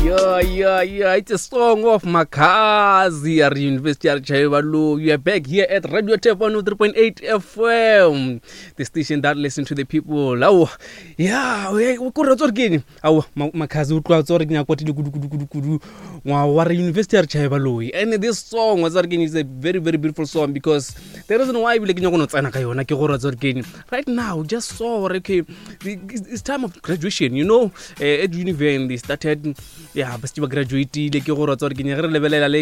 Yeah, yeah, yeah. It's a song of Makazi at University of Chaibalu. You are back here at Radio Tap 103.8 FM, the station that listens to the people. Oh, yeah, we ko re tsore keng? Awo, Makazi o tloa tsore ke nyako tile kudu kudu kudu kudu. Ngwa wa re University of Chaibalu. And this song was again is a very very beautiful song because the reason why bile ke nyako no tsena ka yona ke gore tsore keng. Right now, just saw okay, it's time of graduation, you know. Eh, at univen they started ya ba setse ba graduatile ke gore tsa gore ke nyage re lebelela le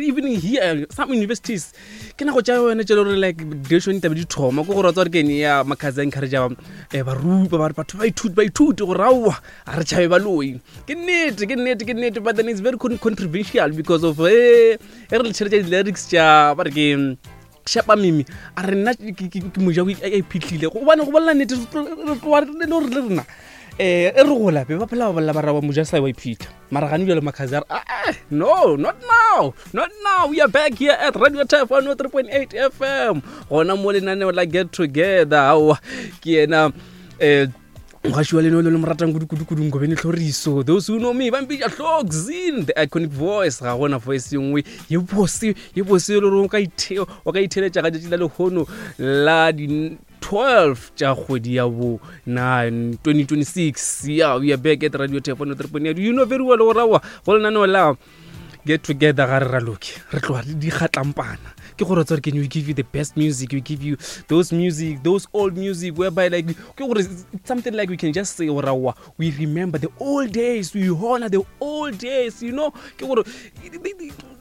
even here some universities ke nako tša yone tše le gore like graduation tabe di thoma ke gore tsa gore ke ya makhazi a encourage eh, barupa ba batho ba ithuti ba ithuti gore aowa a re tšhabe baloi ke nnete ke nnete ke nnete but then it's very controversial because of eh e re le tšhelete di-lyrics tša ba re ke šapa mimi a re nna ke moja a iphitlhile gobane go bolela nnete re tloa le gore le rena um e re gola be ba phela ba bolela ba raba moja sa wa iphitlha mara gane jalo makhazi a re ah, eh, no not now not now we are back here at radio taf 103.8 fm gona mo lenaneo la get together aowa ke yena um mogaši wa leno le le mo ratang kudu-kudu-kudu nkobene tlhoriso those who know me ba mpitša tlhoxin the iconic voice ga gona voice ye nngwe ye bose ye bose e le gore o ka itheletša ga tšatši la lehono la di 12 tša kgwedi ya bo 9 2026 yeah we are back at radio tap 103.8 you know very well gore aowa go lenaneo la get together ga re raloke re tloga re di gatlampana ke gore tsore can we give you the best music we give you those music those old music whereby like ke gore something like we can just say gore aowa we remember the old days we honor the old days you know ke gore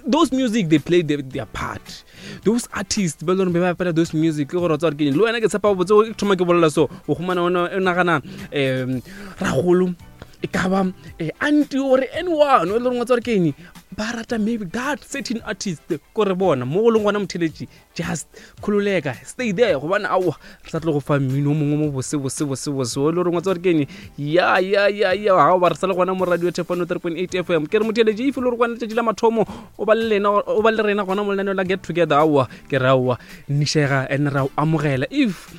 those music they play their part those artists ba leng be ba opela those music ke gore tsore ke le wena ke tshepa botse o thoma ke bolela so o humana o nagana um ragolo e ka ba eh, anti or anyone o e le goreng wa tsare keng ba rata maybe that certain artist ko re bona mo go leng gona motheletši just kgololeka stay there gobane aowa re sa tlo go fa mmino o mongwe mo bose bose bose bose o e le goreng wa tsare keng ya ya ya ya ga ba re sa le gona mo radio thefano 3.8 fm ke re motheletši if e le gore kwana letšatši la mathomo o ba le lena o ba le rena gona mo lenaneo la get together aowa ke re aowa nnišega and ra o amogela if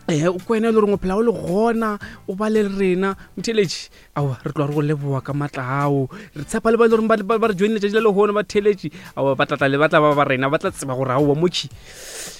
ee o kwena e le goreng o phela o le gona o ba le rena motheletši aowa re tloa re go leboa ka maatla ao re tshepa le ba e le goreng ba re joine letšatši la lehono ba theletši aowa ba tlatla le ba tla ba ba rena ba tla tseba gore aowa motšhi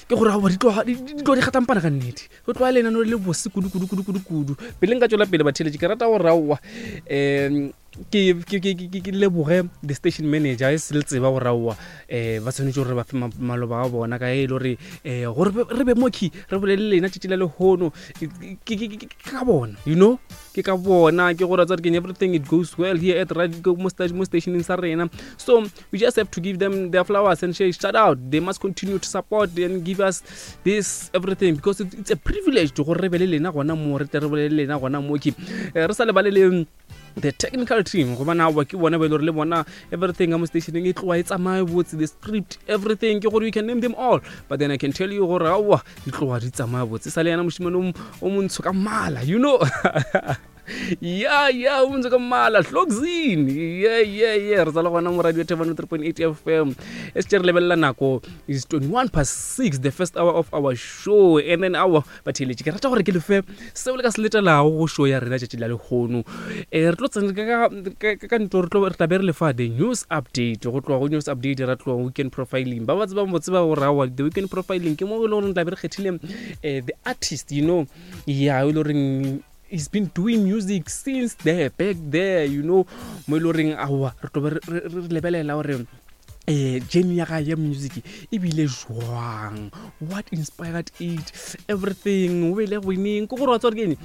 ke gore aowa di tloga di gatlampana ka nnete go tloa lenano le bose kudu kudu kudu kudu kudu pele nka tswela pele batheletši ke rata gore aowa um ke ke ke ke ke leboge the station manager e se le tseba gore aowa um ba tshwanetse gore ba fe maloba a bona ka e le gore um gore re be mokhi re bolele lena tšatši la lehono ke ka bona you know ke ka bona ke gore tsare ke everything it goes well here at radio mo stationeng sa rena so we just have to give them their flowers and say shout out they must continue to support and give us this everything because it's a privilege gore re be le lena gona mo re tle re bolele lena gona mo ke eh, re sa lebale le the technical team gobane aowa ke bona ba e le gore le bona everything ka mo stationeng e tloa e tsamaye botse the script everything ke gore you can name them all but then i can tell you gore aowa di tloa di tsamaya botse sa le yana mošimane o montsho ka mmala you know ya ya o montsho ka mmala hloxin ye ye ye re tsala gona mo radio thebano 3.8 fm e se re lebelela nako is 21 past 6 the first hour of our show and then our Batheeletši, ke rata gore ke lefe seo le ka se letelago go show ya rena tšatši la lehono. Um re tlo tsena ka ntlo re tlo re tla be re lefa the news update go tloga go news update ra tloga weekend profiling ba ba tsebang bo tseba gore aowa the weekend profiling ke mo e le goreng tla be re kgethile um the artist you know ya e le goreng he's been doing music since there back there you know mo e le goreng aowa re tlo be re lebelela gore eh journey ya gae ya music e bile jwang what inspired it everything o bele winning ke gore wa tswa ke eng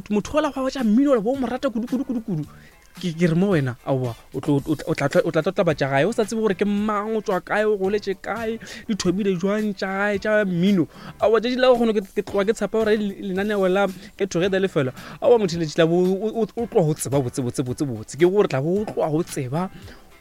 motho ola gwa tša mmino ola bo mo rata kudu kudu kudu kudu ke ke re mo wena aowa o tla tla tla tša gae o sa tsebe gore ke mang o tswa kae o goletše kae di thomile jwang tša gae tša mmino aowa tšatši la kgono ke tloga ke tshepa gore lenaneo la ke together lefela aowa motho letši la bo o tloga go tseba botse botse botse botse ke gore tla bo o tloga go tseba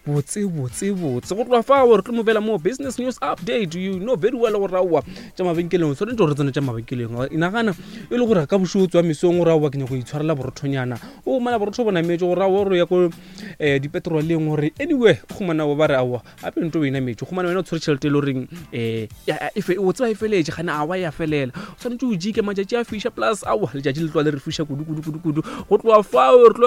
botse botse botse go tloga fao re tlo mo bela mo business news update you know very well gore aowa tša mabenkeleng o tshwanetse gore tsene tša mabenkeleng nagana e le gore ka bošego tswa mesong gore aowa ke nyako itshwarela borothonyana o humana borotho bo nametše gore aowa gore ya ko um dipetroleng gore anyway o humana ba re aowa gape nto o e nametše gomane wena o tshwere tšhelete e le goreng um o tseba e feletše gane awa ya felela o tshwanetse o jike matšatši a fiša plus aowa letšatši le tloa le re fiša kudu kudu kudu kudu go tloa fao re tlo